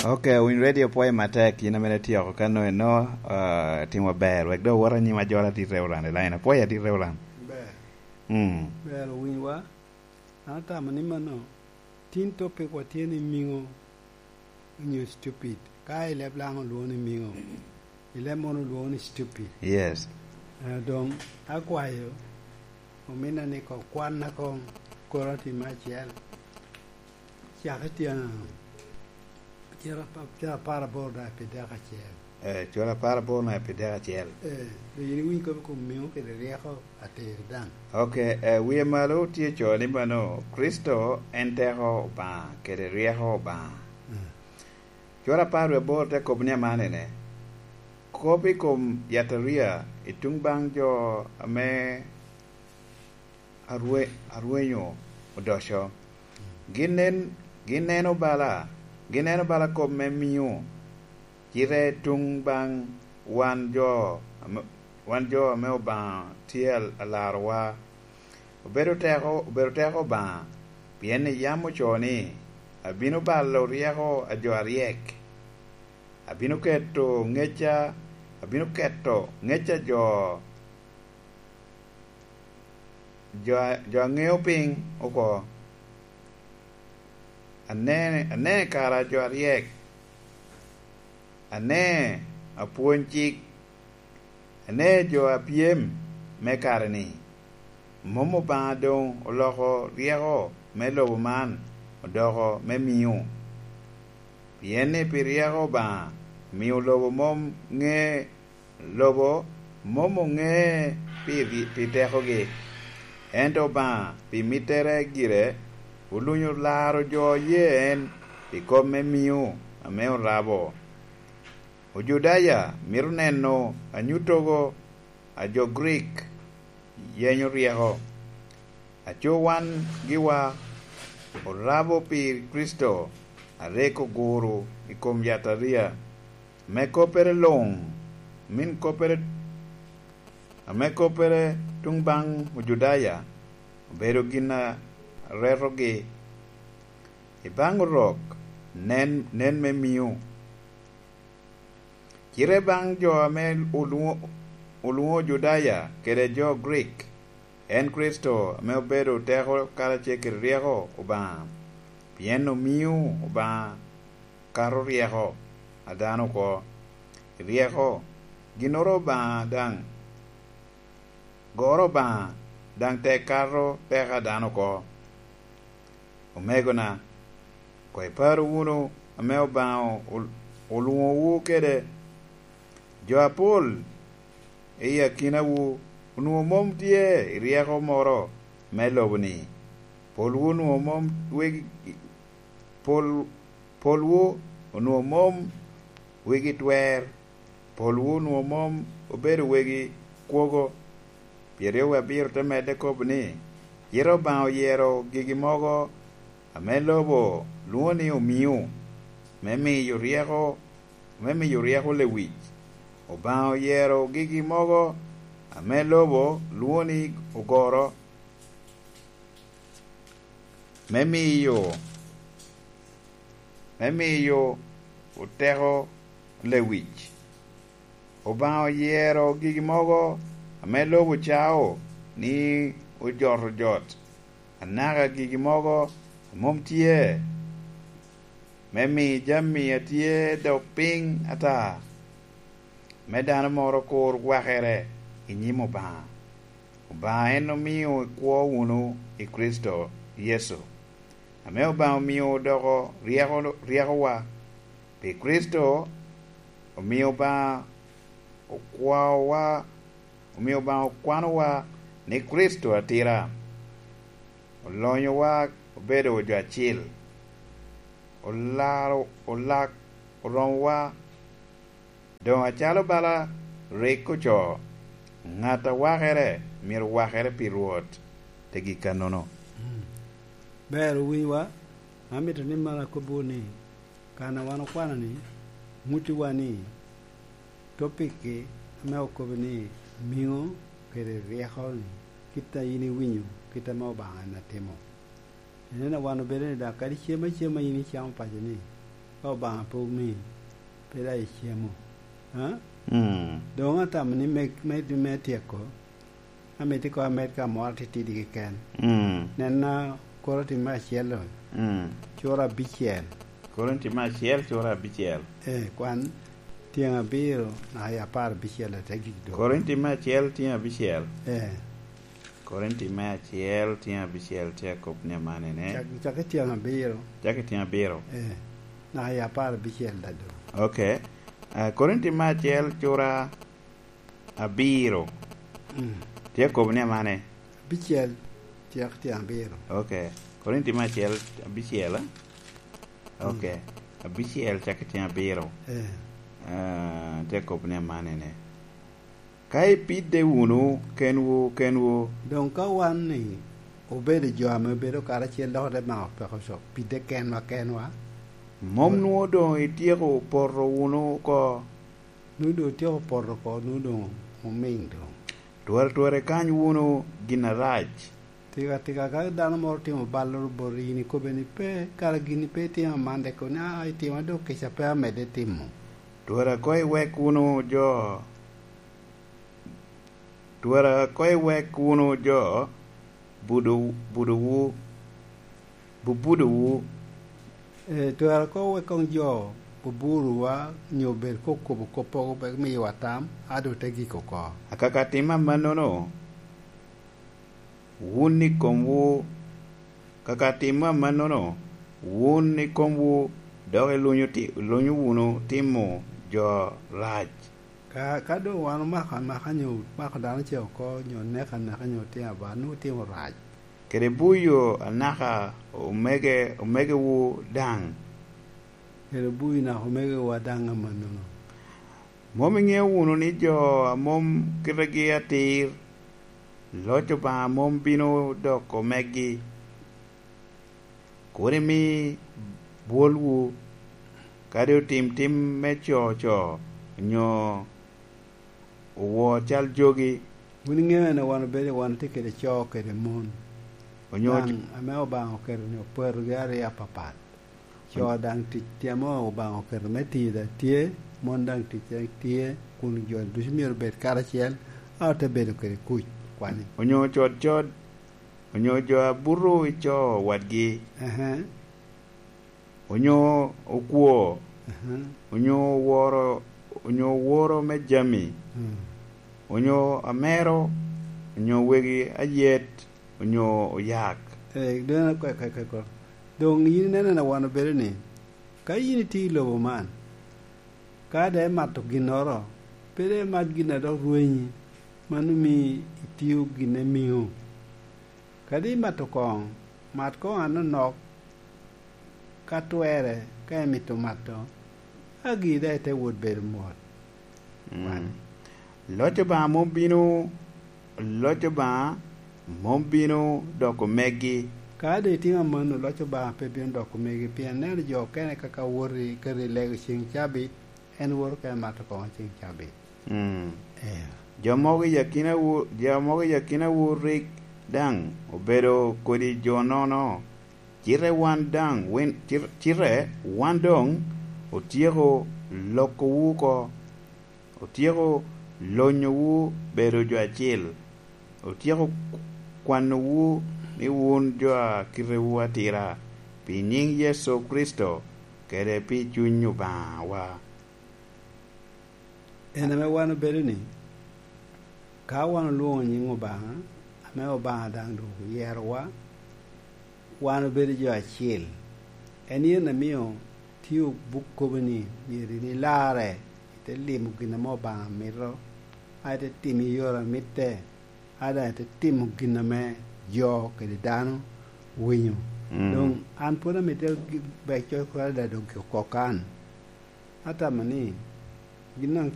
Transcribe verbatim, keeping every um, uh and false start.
Ok, owiny radio pwoye matek, in amene tyeko kano eno, ah, timo ber, wek dok owot anyim ajolo adit Reverend Elina. Pwoye adit Reverend. Ber. Mm. Ber owinyowa. An atamo ni mano, tin topic wa tye ni miŋo onyo stupid. Ka i leb Laŋo olwoŋo ni miŋo, i leb mono olwoŋo ni stupid. Yes. Eh, doŋ akwayo ominna ni koŋ kwanna koŋ Korinti me acel. Cak i tyen ciro apa-, ciro apar aboro daŋ pi dek acel. Eh, ciro apar aboro daŋ pi dek acel. Eh, doŋ yin iwiny kop i kom miŋo kede ryeko atir daŋ. Ok, eh, wie malo tye co ni mano, Kricito en teko Obaŋa kede ryeko Obaŋa. Mm. Cwara apar wie aboro te kobo ni amanene, kop i kom yataria i tuŋ baŋ jo ame arwe-, arwenyo odoco. Gin nen-, gin neno bala, gin neno bala kop me miŋo, cite tuŋ baŋ wan jo ame, wan jo ame Obaŋa tye al-, alarowa. Obedo teko, obedo teko Obaŋa, pien ni yam ocoo ni, "Abino balo ryeko a jo aryek, abino keto ŋecca, abino keto ŋecca jo, jo a, jo a ŋeo piny oko." Ane, ane kara jo aryek, ane apwony cik, ane jo a pyem me kare-ni. Mom Obaŋa doŋ oloko ryeko me lobo man odoko me miŋo? Pien ni pi ryeko Obaŋa omio lobo mom ŋe, lobo mom oŋe pi ri-, pi tekogi, ento Obaŋa pi mittere gire olunyo laro jo oye en pi kop me miŋo ame orabo. Ojudaya mito neno anyutogo a jo Grik yenyo ryeko. Aco wan giwa orabo pi Kricito a rik oguro i kom yataria, ame koppere luŋ, min koppere, ame koppere tuŋ baŋ Ojudaya obedo gin a retogi. I baŋ Orok, nen, nen me miŋo. Cite baŋ jo ame olwoŋo, olwoŋo Ojudaya kede jo Grik, en Kricito ame obedo teko karacel kede ryeko Obaŋa, pien omiŋo Obaŋa kato ryeko a dano oko. Ryeko, ginnoro Obaŋa daŋ, goro Obaŋa daŋ tek kato peko a dano oko. Omegona, koŋ ipar wunu ame Obaŋa ol-, olwoŋowu kede. Jo apol i akinawu onwoŋo mom tye i ryeko moro me lobo-ni. Polwu onwoŋo mom wegi, pol-, polwu onwoŋo mom wegi twer. Polwu onwoŋo mom obedo wegi kwogo. Pyeraryo wie abiro te medde kobo ni, "Cite Obaŋa oyero gigi mogo ame lobo lwoŋo ni omiŋo, me miyo ryeko, me miyo ryeko lewic. Obaŋa oyero gigi mogo ame lobo lwoŋo ni ogoro, me miyo, me miyo oteko lewic. Obaŋa oyero gigi mogo ame lobo cao ni ojot ojot, anaka gigi mogo a mom tye, me mi jami a tye dok piny ata, me dano moro kur wakere i nyim Obaŋa. Obaŋa en omio ikwo wunu i Kricito Yecu, ame Obaŋa omio odoko ryeko, ryekowa. Pi Kricito omio Obaŋa okwaowa, omio Obaŋa okwanowa ni Kricito atira, olonyowa obedo jo acil, olaro, olak oromowa." Doŋ acalo bala rik ocoo, "Ŋat a wakere myero wakere pi Rwot," te gik kannono. Mm. Ber owinyowa, amito ni mara akobbiwu ni, kan a wan okwano-ni, ŋuttiwa ni, topikki ame okobo ni miŋo kede ryeko-ni, kit a yin iwinyo, kit ame Obaŋa en atimo. Ineno, wan obedo ni daŋ kadi cem acema yin icamo paco-ni, Ka Obaŋa pe omi, pe daŋ icemo. Ha? Mm. Doŋ atamo ni me, me, me tyeko, amito ikoŋ amed ka moro atitidi keken. Mm. Nenna Korinti me acel-lo, mm, cura abicel. Korinti me acel, cura abicel. Eh, kwan tyeŋ abiro naka i apar abicel ate gik doŋ. Korinti me acel, tyeŋ abicel. Eh. Korinti me acel, tyeŋ abicel tye akop ni amanene. Cak, cak i tyeŋ abiro. Cak i tyeŋ abiro. Eh, naka i apar abicel daŋ doŋ. Ok. Ah, Korinti me acel, cura abiro. Mm. Tye akop ni amane. Abicel, cak i tyeŋ abiro. Ok. Korinti me acel, abicel, eh? Ok. Mm. Abicel, cak i tyeŋ abiro. Eh. Ah, tye akop ni amanene. Ka ipidde wunu kenwu kenwu. Doŋ ka wan ni obedo jo ame obedo karacel dok ote mako peko co, pidde kenwa kenwa. Mom nwoŋo doŋ ityeko poto wunu oko? Nwoŋo doŋ otyeko poto oko, nwoŋo doŋ omiŋ doŋ. Twere twere ikany wunu gin arac. Tika tika ka dano moro otimo balloro boti, in ikobbe ni pe, kara gin pe itimo aman, dek kono ni, "Aa, itimo dok kica pe amedde timo." Twere koŋ iwek wunu jo, twere koŋ iwek wunu jo budo, budowu, bubudowu. Eh, twere koŋ wek koŋ jo buburowa, nyo bed koŋ kobo kop mogo, pe miyowa tam, a doŋ te gik oko. Akaka tim amannono, wun i komwu, kaka tim amannono, wun i komwu dok ilunyo ti-, ilunyo wunu timo jo rac. Ka, ka doŋ wan omako anaka, nyo mako dano ce oko, nyo neko aneka, nyo timo aba, nwoŋo timo rac. Kede buyo anaka omege, omegewu daŋ. Kede buyo naka omegewa daŋ amannono. Mom iŋeo wunu ni jo a mom kitegi atir, loc Obaŋa mom bino doko megi? Kur imi bwolwu, kadi otim tim me co co, onyo owo cal jogi. Wun iŋeo en wan obedo, wan otye kede co kede mon. Onyo daŋ, ame Obaŋa oketo ni opatogi aryo apapat. Co daŋ tic tye ame Obaŋa oketo me tiyo daŋ tye, mon daŋ tic daŋ tye, kun jo ducu myero obed karacel, a ote bedo kede kuc, kwani. Onyo cod cod, onyo jo a buto i co wadgi. Ehe. Onyo okwo, ehe, onyo oworo, onyo oworo me jami, mm, onyo amero, onyo wegi ayet, onyo oyak. Eh, doŋ, ka, ka, ka, ka. Doŋ yin ineno na wan obedo ni, ka yin itye i lobo man, ka daŋ imato ginnoro, pe daŋ imat gin a dok rwenyi, mano omio itio gin ame miŋo. Kadi imato koŋ, mat koŋ anonok ka twerre, ka imito mato, agi daŋ ite wot bedo mot. Mm. Wan. Loc Obaŋa mom bino, loc Obaŋa mom bino doko megi. Ka doŋ itimo amanno, loc Obaŋa pe bino doko megi, pien neno jo okene kaka woto i, keto i lego ceŋ cabit, en woto ka emato koŋo ceŋ cabit. Mm. Eh. Jo mogo i akinawu, jo mogo i akinawu rik daŋ obedo kodi jo nono, cite wan daŋ, win-, cit-, cite wan doŋ otyeko lokowu oko, otyeko lonyowu bedo jo acil, otyeko kwanowu ni wun jo a kitewu atira, pi nyiŋ Yecu Kricito kede pi Cuny Obaŋawa. En ame wan obedo ni, ka wan olwoŋo nyiŋ Obaŋa, ame Obaŋa daŋ doŋ oyerowa, wan obedo jo acil. En yen amio tye buk kobo ni, myero in ilarre, ite limo gin ame Obaŋa mito, a ite timo i yore a mitte, a daŋ ite timo gin ame jo kede dano winyo. Mm. Doŋ an pwod amito gi-, bec coc kwo adada doŋ gik oko kan. Atamo ni gin daŋ